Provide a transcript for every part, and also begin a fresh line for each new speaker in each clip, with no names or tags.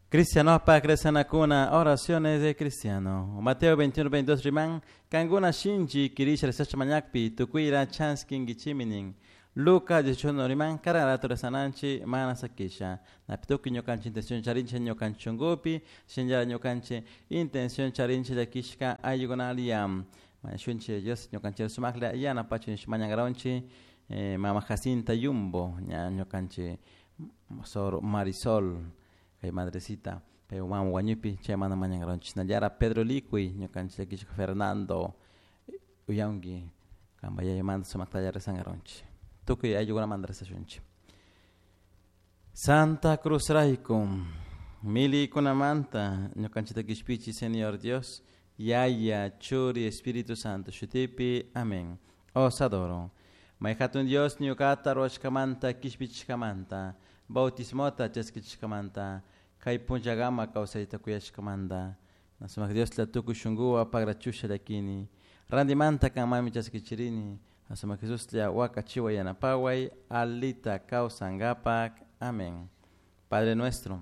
Cristianopak rezanakuna, oraciones de cristiano. Mateo 21, 22 riman, cancuna shinchi quirisha rezasha mañakpi, tucuira chaskinguichimi nin. Lucas 18 riman, caran rato rezananchi, mana sakisha. Napi tukuy ñukanchik intención charinchik ñukanchik shunkupi, shinallara ñukanchik intención charinchik llakishka ayllukunalla. Mañashunchik Dios ñukanchik sumaklla yanapachun mañankaronchik mama Jacinta Yumbo, ña ñukanchik Sor Marisol, kay madrecita, pay mama wañupi chaymanta mañankaronchik. Shinallara Pedro Licuy, ñukanchik llakishka Fernando uyanki, kanpa yayamanta sumaktalla rezankaronchik. Tukuy ayllukunamanta rezashunchik. Santa Cruz rayku, milikunamanta ñukanchikta kishpichi Señor Dios, Yaya, Churi, Espíritu Santo, shutipi, amén. Os adoro. May hatun Dios ñuqata ruwashkamanta kishpichishkamanta, bautismota chaskichishkamanta, kay punllakama kawsayta kuyashkamanta. Sumak Dioslla tukuy shunkuwan pagrachusha llakini. Randimanta kanmanmi chaskichirini. Sumak Jesuslla wakachiway yanapaway alita kawsankapak. Amén. Padre nuestro,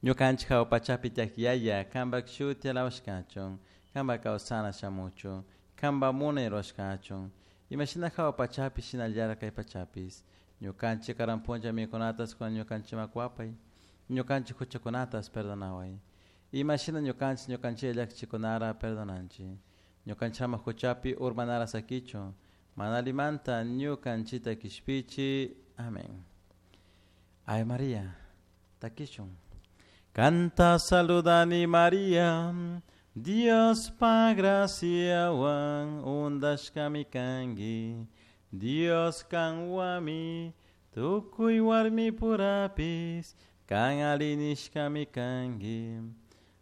ñukanchik hawa pachapi tiyak Yaya, kanpak shuti alabashkachun, kanpak kawsana shamuchun, kanpak munay rurashkachun, imashina hawa pachapi shinallara kay pachapis. Ñukanchik karan punlla mikunatas kunan ñukanchikman kuwapay, ñukanchik huchakunatas perdonaway. Imashina ñukanchik ñukanchik llakichikunara perdonanchik. Ñukanchik ama huchapi urmanara sakichun, mana allimanta ñukanchikta kishpichi. Amén. Ave María, takishun. Kanta saludani María, Diospa graciawan undashkami kanki, Dios kanwami, tukuy warmi purapis, kan alli nishkami kanki.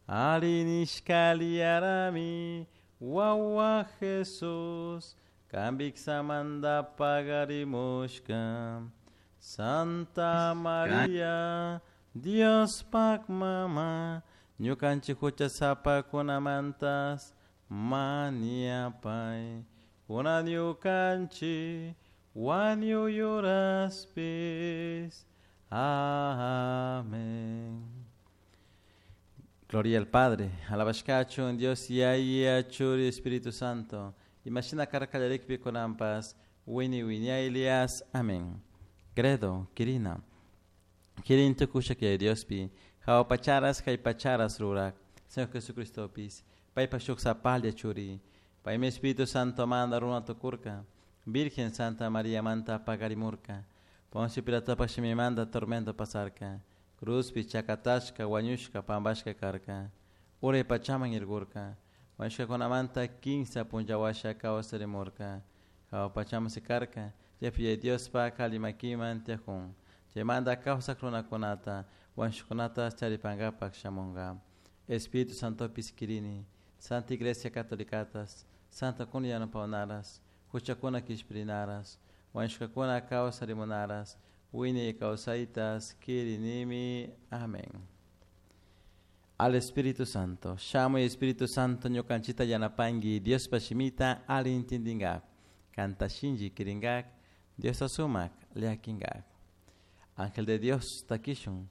Alli nishka aliyarami, wawa Jesús, kan viksamanta pagarimushka. Santa María, Diospak mama, ñukanchik huchasapakunamantas mañapay. Kunan ñukanchik wañuy uraspis. Amén. Gloria al Padre, alabashkachun Dios Yaya, Churi, Espíritu Santo. Imashina karka kallarikpi kunanpas, wini wiñaylias. Amén. Credo, Quirina. Quirin tukusha que Diospi, hawa pacharas kay pacharas rurak, Señor Jesucristopis, paypa shuk sapalla churi, paymi Espíritu Santo manda runa tukurka, Virgen Santa María manta pagarimurka, Poncio Pilatopa shimimanta tormento pasarka, cruzpi chakatashka wañushka pampashka karka, uray pachaman irkurka, wañushkakunamanta kinsa punlla washa kawsarimurka, hawa pachaman sikarka, chaypi Diospa alli makiman tiyakun, chaymanta kawsak runakunata, wañushkakunata charipankapak shamunka. Espíritu Santopis kirini, Santa Iglesia Catolicatas, Santa kuna yanapawnaras, huchakuna kishpirinaras, wañushkakuna kawsarimunaras, wiñay kawsaytas kirinimi. Amén. Al Espíritu Santo, shamuy Espíritu Santo ñukanchita yanapanki, Diospa shimita alli intindingak, kanta shinchi kiringak, Diosta sumak llakinkak. Ángel de Dios, takishun,